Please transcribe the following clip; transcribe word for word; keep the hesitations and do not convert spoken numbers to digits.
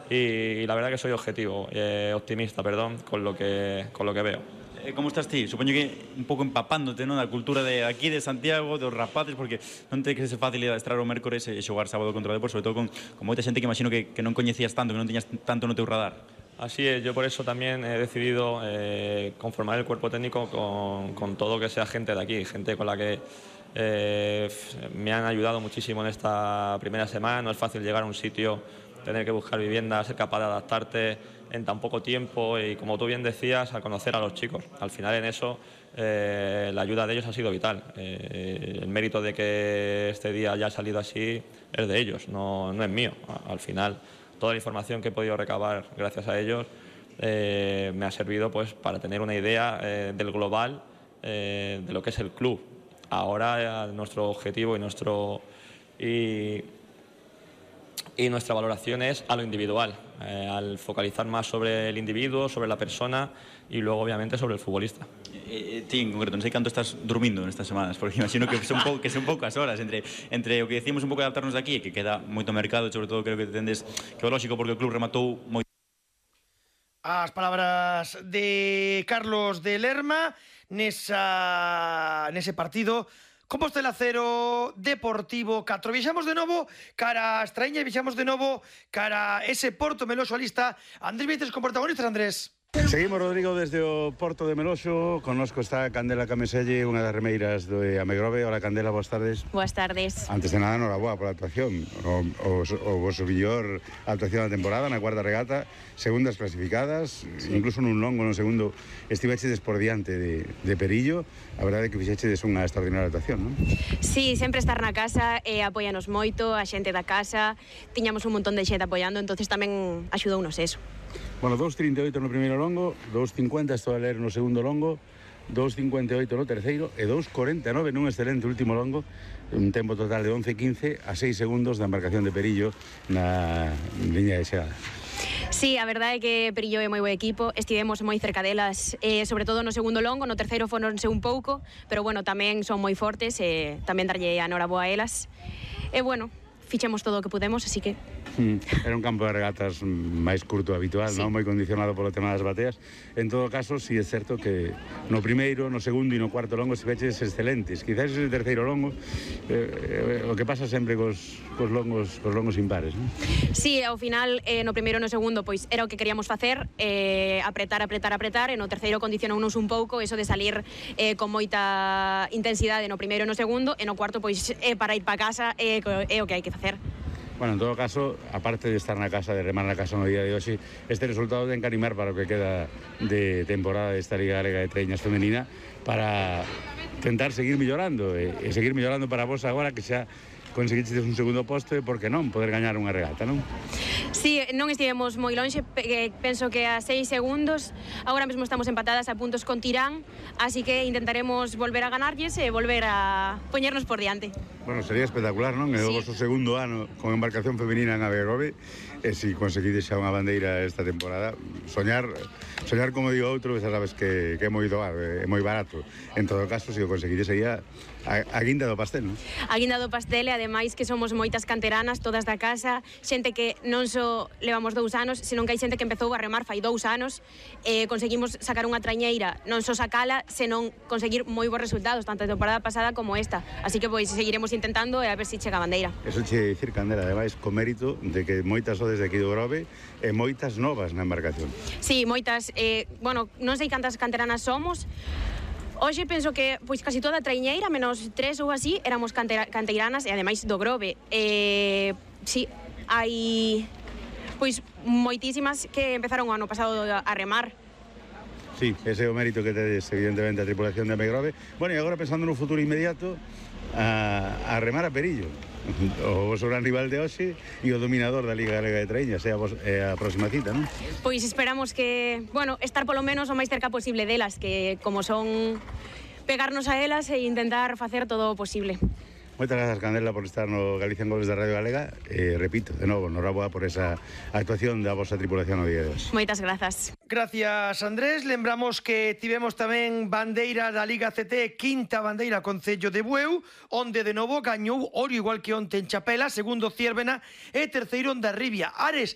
y, y la verdad que soy objetivo, eh, optimista, perdón, con lo que, con lo que veo. Eh, como estás ti? Supoño que un pouco empapándote, non, da cultura de aquí de Santiago, dos rapaces, porque non te que ser fácil adestrar o mércores e xogar sábado contra o Depor, sobre todo con, con moita xente que imagino que, que non coñecías tanto, que non tiñas tanto no teu radar. Así es, yo por eso también he decidido eh, conformar el cuerpo técnico con, con todo que sea gente de aquí, gente con la que eh, me han ayudado muchísimo en esta primera semana. No es fácil llegar a un sitio, tener que buscar vivienda, ser capaz de adaptarte en tan poco tiempo y, como tú bien decías, a conocer a los chicos. Al final en eso eh, la ayuda de ellos ha sido vital. Eh, el mérito de que este día haya salido así es de ellos, no, no es mío. Al final toda la información que he podido recabar gracias a ellos eh, me ha servido pues, para tener una idea eh, del global eh, de lo que es el club. Ahora eh, nuestro objetivo y, nuestro, y, y nuestra valoración es a lo individual, eh, al focalizar más sobre el individuo, sobre la persona y luego obviamente sobre el futbolista. Eh, eh, ti, en concreto, non sei canto estás dormindo nestas semanas, porque imagino que son, pou, que son poucas horas entre, entre o que decimos un pouco de adaptarnos de aquí e que queda moito mercado, sobre todo creo que tendes que é lógico porque o club rematou moito. As palabras de Carlos de Lerma nesa, nese partido Compostela cero, Deportivo catro. Viaxamos de novo cara a Estraña e viaxamos de novo cara a ese Porto Meloxo a lista. Andrés Vieites con protagonistas, Andrés. Seguimos, Rodrigo, desde o Porto de Meloxo. Connosco está Candela Cameselle, unha das remeiras do Amegrove. Hola, Candela, boas tardes. Boas tardes. Antes de nada, noraboa pola actuación. O, o, o vosso mellor actuación da temporada na cuarta regata, segundas clasificadas, sí. Incluso nun longo no segundo estivechedes por diante de, de Perillo. A verdade é que fixechedes unha extraordinaria actuación, non? Sí, sempre estar na casa e apoianos moito, a xente da casa. Tiñamos un montón de xente apoiando, entonces tamén axudounos eso. Bueno, dos trinta e oito no primeiro longo, dos cincuenta estou a ler no segundo longo, dos cincuenta e oito no terceiro e dos cuarenta e nove nun excelente último longo, un tempo total de once quince a seis segundos da embarcación de Perillo na liña de chegada. Sí, a verdade é que Perillo é moi bo equipo, estivemos moi cerca delas, eh, sobre todo no segundo longo, no terceiro foronse un pouco, pero bueno, tamén son moi fortes e tamén darlle a noraboa a elas. E bueno, fichemos todo o que pudemos, así que... Era un campo de regatas máis curto habitual, sí. Non moi condicionado polo tema das bateas. En todo caso, si sí é certo que no primeiro, no segundo e no cuarto longo se veches excelentes. Quizás ese terceiro longo eh, o que pasa sempre cos, cos longos cos longos impares, non? Sí, ao final, eh, no primeiro e no segundo, pois era o que queríamos facer, eh, apretar, apretar, apretar, e no terceiro condicionounos un pouco eso de salir eh, con moita intensidade no primeiro e no segundo, e no cuarto, pois, eh, para ir para casa é eh, eh, o que hai que facer. Bueno, en todo caso, aparte de estar na casa, de remar na casa no día de hoxe, este resultado ten que animar para o que queda de temporada desta Liga Galega de Treñas Femenina para tentar seguir mellorando e, e seguir mellorando para vos agora que xa conseguiches un segundo posto e, por que non, poder gañar unha regata, non? Sí, non estivemos moi lonxe, penso que a seis segundos, agora mesmo estamos empatadas a puntos con Tirán, así que intentaremos volver a ganarlles e volver a poñernos por diante. Bueno, sería espectacular, non? É o vosso segundo ano con embarcación femenina en Abegrove, e se si conseguides xa unha bandeira esta temporada, soñar, soñar como digo outro, xa sabes que, que é moi doado, é moi barato. En todo caso, se o conseguides sería a, a guinda do pastel, non? A guinda do pastel, e ademais que somos moitas canteranas, todas da casa, xente que non só levamos dous anos, senón que hai xente que empezou a remar fai dous anos, e conseguimos sacar unha trañeira, non só sacala, senón conseguir moi bons resultados, tanto a temporada pasada como esta. Así que pois seguiremos intentando e a ver se si chega a bandeira. Eso che dicir, Candela, ademais, co mérito de que moitas sodes de aquí do Grove e moitas novas na embarcación. Sí, moitas, eh, bueno, non sei cantas canteranas somos. Hoxe penso que pois casi toda a traiñeira, menos tres ou así, éramos cantera, canteiranas e ademais do Grove. Eh, sí, hai pois moitísimas que empezaron o ano pasado a remar. Sí, ese é o mérito que tedes, evidentemente, a tripulación de Amegrove. Bueno, e agora pensando no futuro inmediato, a, a remar a Perillo, o vosso gran rival de hoxe e o dominador da Liga Galega de Treñas, é a, vos, é a próxima cita, non? Pois esperamos que, bueno, estar polo menos o máis cerca posible delas, que como son pegarnos a elas e intentar facer todo o posible. Moitas grazas, Candela, por estar no Galicia en Goles da Radio Galega. E, repito, de novo, noraboa por esa actuación da vosa tripulación no día de hoxe. Moitas grazas. Gracias, Andrés. Lembramos que tivemos tamén bandeira da Liga C T, quinta bandeira Concello de Bueu, onde de novo gañou Orio igual que onte en Chapela, segundo Ciervena e terceiro Hondarribia. Ares